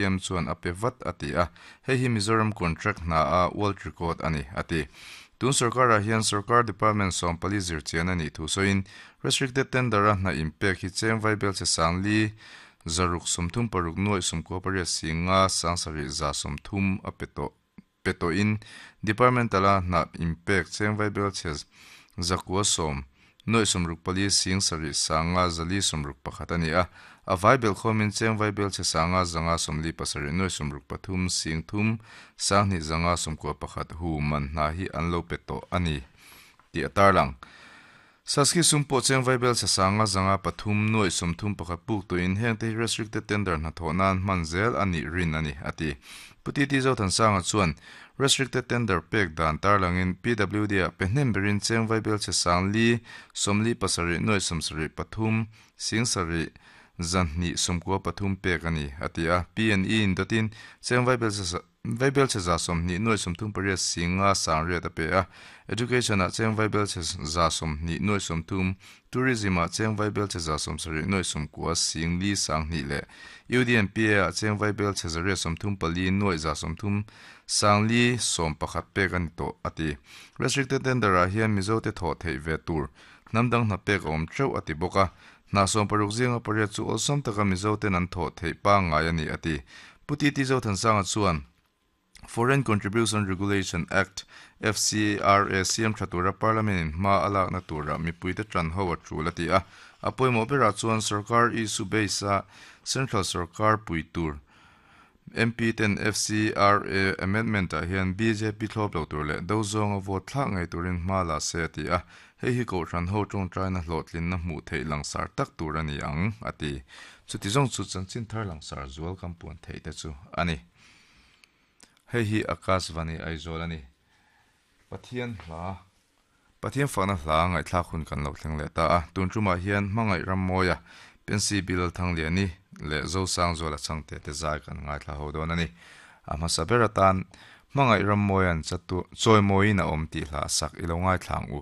CM chuan a pe vat a ti a, hei hi Mizoram contract hna a world record a ni a ti. Tun sorkarah hian sorkar department 14 zirchian a nih thu sawiin restricted tender a hna inpek hi cheng vaibelchhe sangli 636 nuaih 98 singa 7 130 a pe tawh pe tawhin departmental a hna inpek cheng vaibelchhe 910 nuaih 64 sing 7 sanga 461 a ni a, a vaibel khawmin cheng vaibelchhe sanga 557 nuaih 63 sing 3 sang 2 591 hu man hna hi an lo pe tawh a ni tih a tarlang. Saski sum pawh cheng vaibelchhe sanga 503 nuaih 31 puk tawhin heng te hi restricted tender hna thawh nan hman zel a nih rin a ni a ti. Pu T T Zothansanga chuan restricted tender pek dan tarlangin PWD ah pe hnem berin cheng vaibelchhe sang li 47 nuaih 73 sing 7 293 pek a ni a ti a. P&E in dawtin cheng vaibelchhe Vaibelchhe 20 nuaih 38 singa 800 a pe a. Education ah cheng vaibelchhe 20 nuaih 30, Tourism ah cheng vaibelchhe 70 nuaih 90 sing li 2 leh UDNPA ah cheng vaibelchhe 134 nuaih 30 sang li 11 pek a ni tawh a ti. Restricted tender ah hian Mizo te thawh theih ve tur hnam dang hna pek a awm teuh a ti bawk a. Hna 60 zinga 8 chu awlsam taka Mizo ten an thawh theih pangngai a ni a ti. Pu T T Zothansanga chuan Foreign Contribution Regulation Act, FCRA, siam tha tura Parliament in hma a lakna tura mipuite tan ho a tul a ti a. A pawimawh berah chuan sarkar issue base a Central sarkar pui tur MP ten FCRA amendment ah hian bjp thlawp lo tur leh do zawnga vote thlak ngei turin hma la se a ti a. Hei hi kohhran ho tawngtaina hlawhtlinna hmuh theih langsar tak tur a ni ang a ti. Chuti zawng chu chanchin thar langsar zual kan puan theih te chu a ni. Hei hi Akashvani Aizawl a ni. Pathian hla Pathian fakna hla ngaihthlak hun kan lo thleng leh ta a. Tun tumah hian Hmangaih Rammawia, Pensy Bilal Thangliani leh Zosangzuala changte te zai kan ngaithla ho dawn a ni. A hmasa ber atan Hmangaih Rammawia'n chatu chawimawiin a awm tih hla a sak i lo ngaithla ang u.